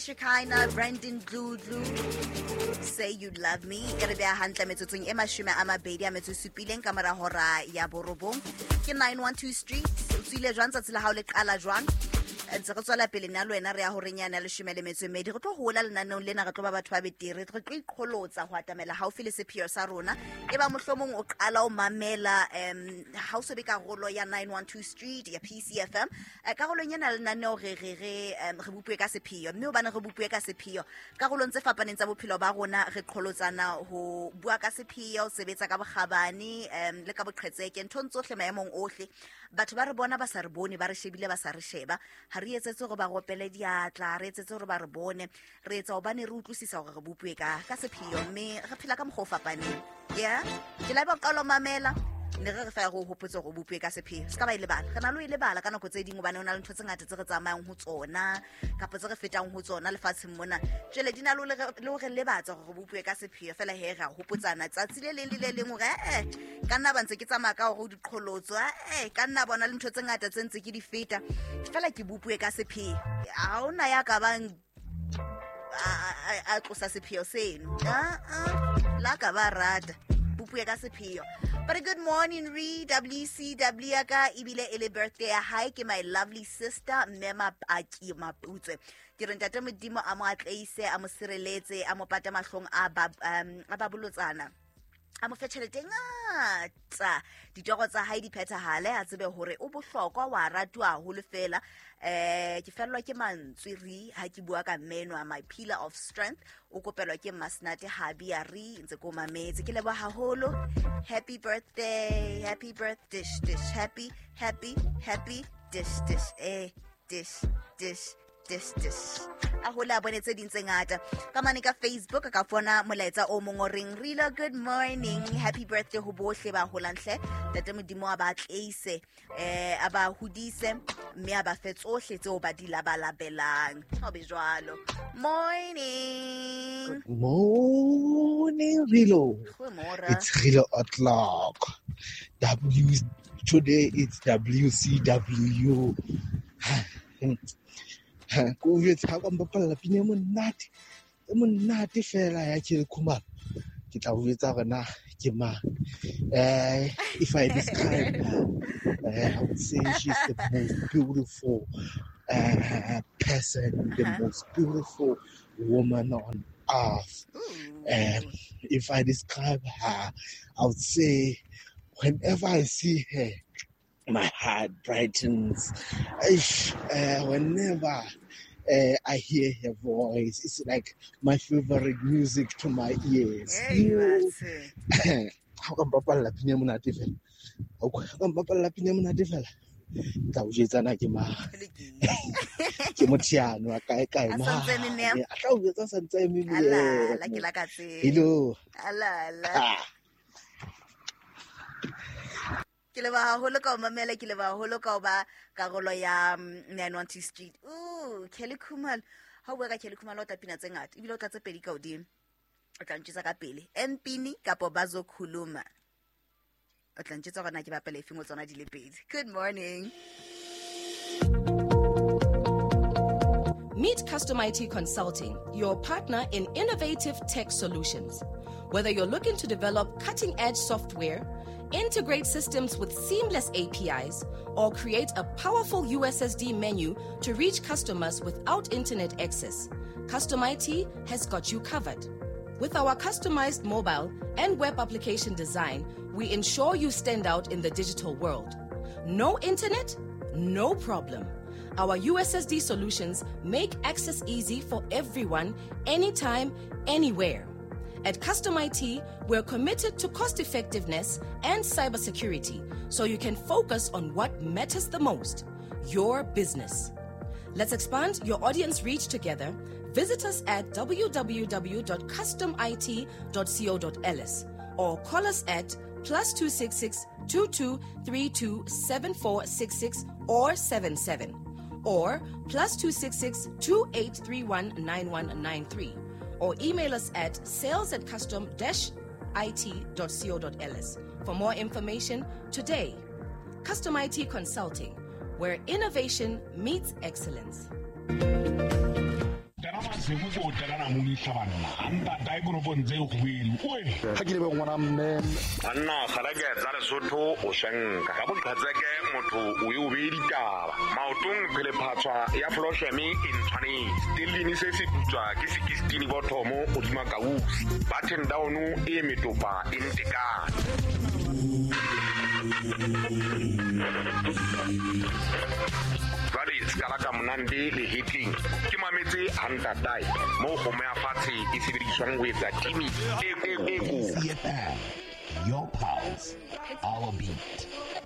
Shekinah, Brandon Dludlu, Say You Love Me. E re beha hantle metsotsong e 27 ka mora hora ya 9. Ke 912 Street. O tswile jwang tsatsi la hao le qala jwang? Ntse re tswela pele nna le wena re ya horeng yane ya 12. Re tlo hola lenaneong lena, re tlo ba batho ba betere, re tlo iqholotsa ho atamela haufi le sepheo sa rona. E ba mohlomong o qala o mamela ha o so be karolo ya 912 Street ya PCFM. Karolong ena lenaneo re re re re bopuwe ka sepheo, mme hobane re bopuwe ka sepheo karolong tse fapaneng tsa bophelo ba rona, re qholotsana ho bua ka sepheo, sebetsa ka bokgabane le ka boqhetseke nthong tsohle maemong ohle. Batho ba re bona ba sa re bone, ba re shebile ba sa re sheba. Ha re etsetse hore ba ropele diatla, re etsetse hore ba re bone, re etsa hobane re utlwisisa hore re bopuwe ka sepheo, mme re phela ka mokgwa o fapaneng. Yeah, ke la ba qala mamela ne re re fa go hopotse hore o bopuwe ka sepheo. Se ka ba e lebala, re na le ho e lebala ka nako tse ding, hobane ho na le ntho tse ngata tse re tsamayang ho tsona kapa tse re fetang ho tsona lefatsheng mona. Jwale di na le ho re lebatsa hore re bopuwe ka sepheo. Feela he re a hopotsana tsatsi le leng le le leng hore ka nna ba ntse ke tsamaya ka hore o diqholotso, ka nna bona le ntho tse ngata tse ntse ke di feta, feela ke bopuwe ka sepheo. Ha hona ya ka bang a tlosa sepheo seno. La ka ba rata bopuwe ka sepheo. But a good morning, re WCW ya ka ebile e le birthday ya hae ke my lovely sister Mme Mapaki Maputswe. Ke re ntate Modimo a mo atleise, a mo sireletse, a mo pata mahlong a ba a ba bolotsana, a mo fe tjhelete e ngata, ditoro tsa hae di phethahale, a tsebe hore o bohlokwa, wa ratuwa haholo fela. Ke fellwa ke mantswe re ha ke bua ka mme enwa, my pillar of strength, o kopelwa ke Masnate Habi a re ntse ko mametse. Ke leboha haholo. Happy birthday, happy birthday, dish dish, happy happy happy dish dish, dish dish dish dish. A hola bone tse ding tse ngata. Ka mane ka Facebook ka fona molaetsa o mong o reng Rila, good morning, happy birthday ho bohle ba holang hle. Ntate Modimo a ba tleise, a ba hodise, mme a ba fe tsohle tseo ba di labalabelang. Ho be jwalo. Morning. Good morning, Rilo. Goeiemôre. It's Rilo o'clock. W today it's WCW. Ko jwetse ha ka mpapalla pina e monate, e monate fela ya Kelly Khumalo. Ke tla o jwetsa hore na ke mang. If I describe her, I would say she's the most beautiful person, the most beautiful woman on earth. If I describe her, I would say whenever I see her, my heart brightens. Whenever I hear her voice, it's like my favorite music to my ears. Hey, that's Ha ka mpapalla pina e monate fela. Ha ka mpapalla pina e monate fela. Tla o jwetsa na ke mang. Ke motho yano a kae kae A santse eme mane. mem. A tla o jwetsa a santse eme Ala, la mem. ke la ka tseba. Hello. Ala, ala. Ke leboha haholo ka ho mamela, ke leboha haholo ka ho ba karolo ya 912 Street. Ooh, Kelly Khumalo. Ha o bua ka Kelly Khumalo o tla pina tse ngata, ebile o tla tse pedi ka hodimo. O tla ntjwetsa ka pele. Empini kapa Bazokhuluma. O tla ntjwetsa hore na ke bapala efeng ho tsona di le pedi. Good morning. Meet Custom IT Consulting, your partner in innovative tech solutions. Whether you're looking to develop cutting-edge software, integrate systems with seamless APIs, or create a powerful USSD menu to reach customers without internet access, Custom IT has got you covered. With our customized mobile and web application design, we ensure you stand out in the digital world. No internet? No problem. Our USSD solutions make access easy for everyone, anytime, anywhere. At Custom IT, we're committed to cost effectiveness and cybersecurity, so you can focus on what matters the most, your business. Let's expand your audience reach together. Visit us at www.customit.co.ls or call us at +266 22 32 7466 or 77 or +266 2831 9193 or email us at sales@custom-it.co.ls for more information today. Custom IT Consulting, where innovation meets excellence. Sekuko telana moni hlabanna ntatae konopong tse kgubedu oe Ha ke lebe ngwana mme. Banna kgalake tsa Lesotho o shenka ka boqhetseke motho o e o bee ditaba maotong phelephatswa ya flosheme e ntshwanetse stellini se se putswa ke sekistini bothomo hodima kausi button down e metopa e ntekane. Jwale sekala ka monande le hetleng ke mametse hantatae moo kgomo ya fatshe e sebediswang ho etsa timi e ko. CFM, your pulse, our beat.